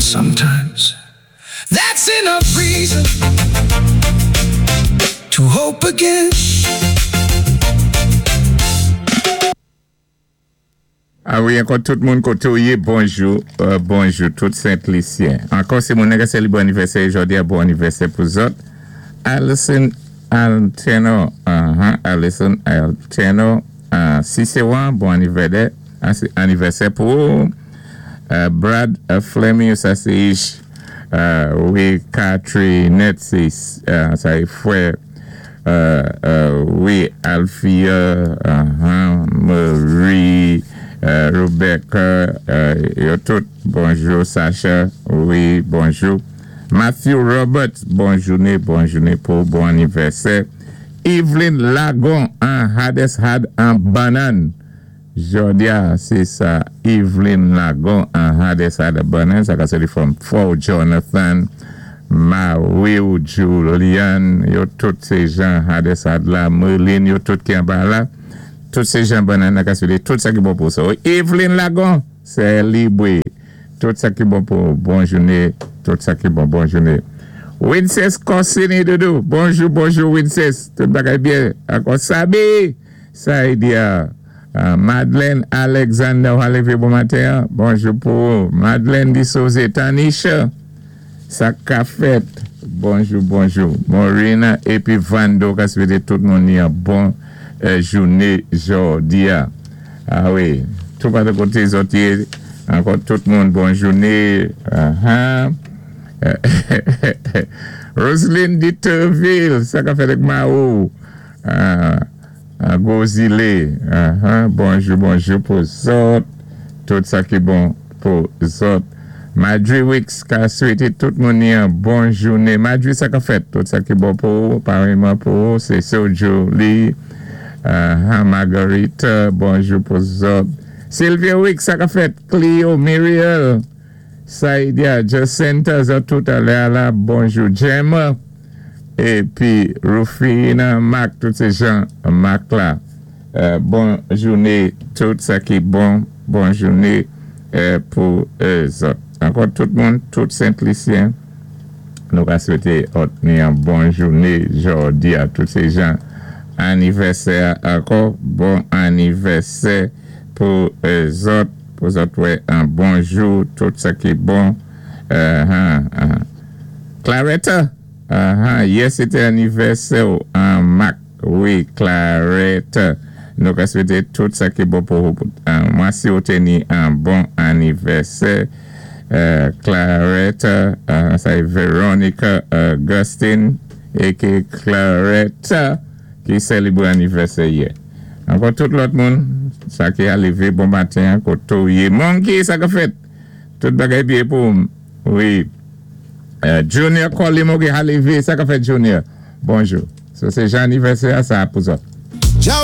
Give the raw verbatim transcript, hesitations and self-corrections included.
Sometimes that's enough reason to hope again. A wi, ankò tout moun koté ou yé, bonjou, euh, bonjou, tout Sent-Lisyen. Ankò sé moun ka sélibwé anivèsè jòdi-a, bon anivèsè pou zòt. Alison Alteno, uh-huh, Alison Alteno, uh, Ciceron, bon anivèsè, anivèsè pou ou. Uh, Brad uh, Fleming, sa sé Ish, uh, wi, Catherine, sé, uh, sa é fwè, uh, uh, wi, Alfia, uh-huh, Marie, uh, Rebecca, uh, yo tout, bonjou, Sacha, wi, bonjou. Matthew Roberts, bon jouné, bon jouné pou bon anivèsè. Evelyn Lagon, an Hades had an banan. Jòdi-a, sé sa, Evelyn Lagon, an Hades had a banan. Sa ka sé from Fort Jonathan, Mario Julian, yo tout sé jan Hades had la, Merlin, yo tout ki anba la. Tout sé jan banan, ka sé tout sa ki bon pou sa. Evelyn Lagon, sélibré. Tout sa ki bon pou bon jouné, tout sa ki bon, bon jouné. Winces Corsini Doudou, bonjou, bonjou Winces, tout bagay byen. Ankò Sabi, Saïdia, uh, Madeleine Alexander, ou lévé bon maten, bonjou pou Madeleine Dissose Tanisha, sa ka fèt, bonjou, bonjou. Morina épi Vando, ka swété tout moun ni yon bon euh, jouné jòdi-a. A wi, tout pa de koté zòt yé, ankò tout moun bon jouné. Uh-huh. Roselyne Diterville, sa ka fèt ak Mao. Uh, uh, Gozile, uh-huh. Bonjou, bonjou pou zòt. Tout sa ki bon pou zòt. Madri Wicks ka swété tout moun yon bon jouné. Madri sa ka fèt, tout sa ki bon pou, pareman pou, sé Sojo Lee. Uh, Margarita, bonjou pou zòt. Sylvia Wicks sa ka fèt, Cleo, Muriel, Saidia, Jacinta, zòt tout alè la, bonjou. Gemma, épi Rufina, Mac, tout sé jan Mac la. Euh, bon jouné, tout sa ki bon, bon jouné euh, pou euh, zòt. Ankò tout moun, tout Sent-Lisyen, nou ka swété òt ni yon bon jouné jòdi-a tout sé jan anivèsè ankò, bon anivèsè pou euh, zòt, pou zòt wè an bon jou, tout sa ki bon. Uh, uh, uh. Claretta, uh, yè sé té anivèsè ou an Mac, wi, Claretta. Nou ka swété tout sa ki bon pou uh, mwen si ou té ni an bon anivèsè. Uh, Claretta, uh, sa é Veronica Augustine, éké Claretta, ki sélibré anivèsè yè. Ankò tout lòt moun, sa ki a lévé bon maten, koté ou yé. Monkey, sa ka fèt. Tout bagay byen pou wi. Uh, Junior Colimo ki a lévé, sa ka fèt Junior. Bonjou. So sé jan anivèsè sa pou zòt. Ciao.